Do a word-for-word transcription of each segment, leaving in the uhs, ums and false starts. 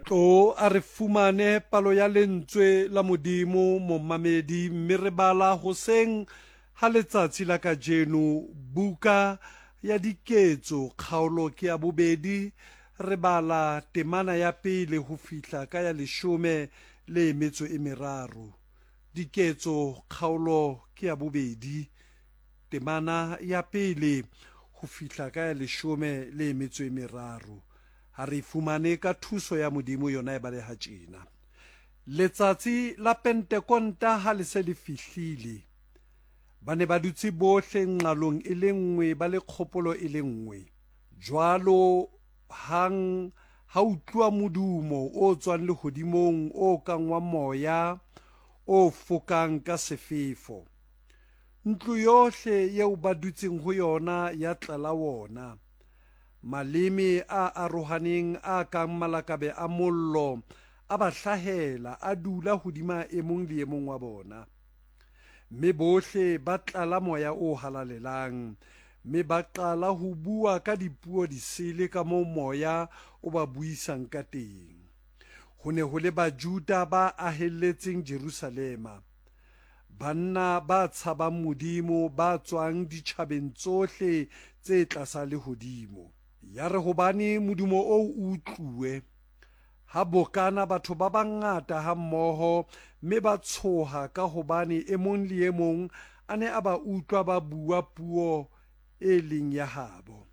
Tlo a re fumane palo ya lentswe la Modimo momamedi, mme re bala hoseng ha letsatsi la kajeno buka ya Diketso kgaolo ke ya bobedi, re bala temana ya pele ho fihla ka ya leshome le metso e meraro. Diketso kgaolo ke ya bobedi, temana ya pele ho fihla ka ya leshome le metso e meraro. Ha re fumane ka thuso ya Modimo yona e baleha tjena. Letsatsi la Pentekonta ha le se le fihlile, ba ne ba dutse bohle nqalong e le nngwe, ba le kgopolo e le nngwe. Jwalo hang ha utluwa modumo o tswang lehodimong o kang wa moya o fokang ka sefefo. Ntlo yohle eo ba dutseng ho yona ya tlala wona. Maleme a arohaneng a kang malakabe a mollo a ba hlahela, a dula hodima e mong le e mong wa bona. Mme bohle ba tlala moya o halalelang, mme ba qala ho bua ka dipuo disele ka moo moya o ba buisang ka teng. Ho ne ho le Bajuda ba ahelletseng Jerusalema, banna ba tshabang Modimo ba tswang ditjhabeng tsohle tse tlasa lehodimo. Ya re hobane modumo oo o utluwe, ha bokana batho ba bangata hammoho, mme ba tshoha ka hobane e mong le e mong a ne a ba utlwa ba bua puo e leng ya habo.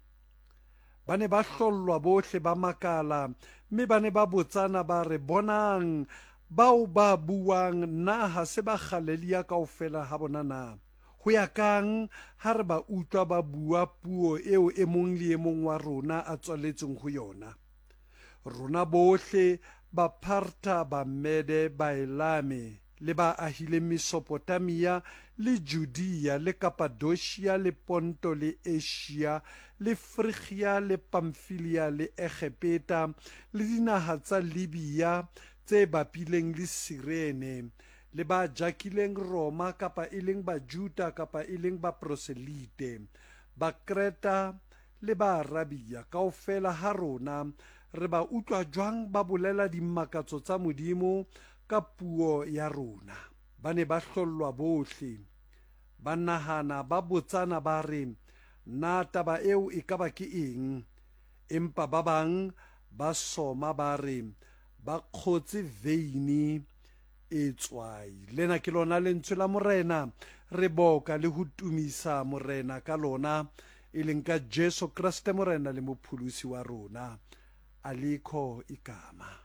Ba ne ba hlollwa bohle, ba makala, mme ba ne ba botsana ba re, bonang, bao ba buang na ha se ba Galilea kaofela ha bona na? Ho ya kang ha re ba utlwa ba bua puo eo e mong le e mong wa rona a tswaletsweng ho yona? Rona bohle Bapartha, Bamede, Baelame le ba ahileng Mesopotamia le Judea le Kapadosia le Ponto le Asia le Frigia le Pamfilia le Egepeta le dinaha tsa Libya tse bapileng le Sirene, le ba jakileng Roma kapa e leng Bajuda kapa e leng Baproselite, Bakreta le Baarabia, kaofela ha rona re ba utlwa jwang ba bolela dimakatso tsa Modimo ka puo ya rona. Ba ne ba hlollwa bohle, ba nahana, ba botsana ba re, na taba eo e ka ba ke eng? Empa ba bang ba soma ba re, ba kgotse veine e tswai. Lena ke lona lentswe la Morena, re boka le ho tumisa Morena ka lona, e leng ka Jesu Kreste Morena le Mopholosi wa rona. Alikho igama.